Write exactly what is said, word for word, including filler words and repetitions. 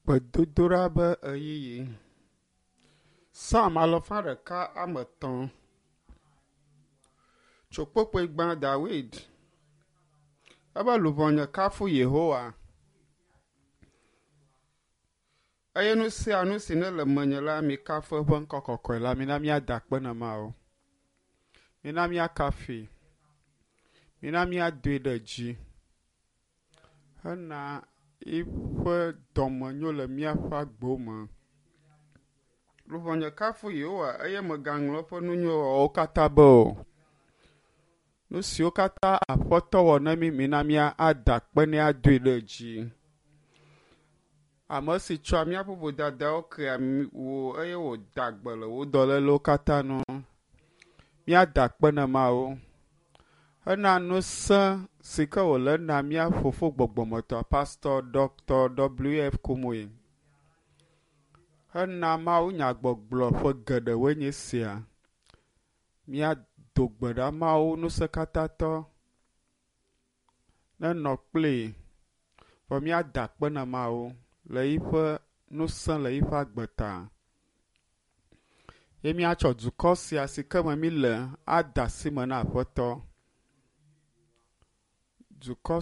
Gbedodoɖa be ʋeyiʋi. Psalm alafa ɖeka ame etɔ̃. Tso kpokpoe gbã Dawid. Ebe luʋɔnye kafu Yehowa. Eye nu sia nu si ne le menye la, mikafu eƒe ŋkɔ kɔkɔe la. Mina míada akpe na Mawu. Mina míakafui. Mina míadoe ɖe dzi. Hena yiƒe dɔmenyo le míaƒe agbewo me. Luʋɔnye kafu Yehowa eye mègaŋlɔ eƒe nu nyui wɔwɔwo katã be o. Nu siwo katã Aƒetɔ wɔ na mí, mina míada akpe nɛ adoe ɖe dzi. Ame si tsɔa míaƒe vodadawo kea wò eye wòda gbe le wò dɔlélewo katã nu. Míada akpe na Mawu hena ŋusẽ si ke wòle na mía fofo gbɔgbɔmetɔ Pastor Dr. W. F. Kumuyi hena mawunyagbɔgblɔ ƒe geɖewoe nye esia. Míado gbe ɖa Mawu ŋusẽkatãtɔ nenɔ kplii vɔ míada akpe na Mawu le yiƒe ŋusẽ le yiƒe agbe ta. Ye míatsɔ dukɔ sia si ke me míle ade asi me na Aƒetɔ. Dukɔ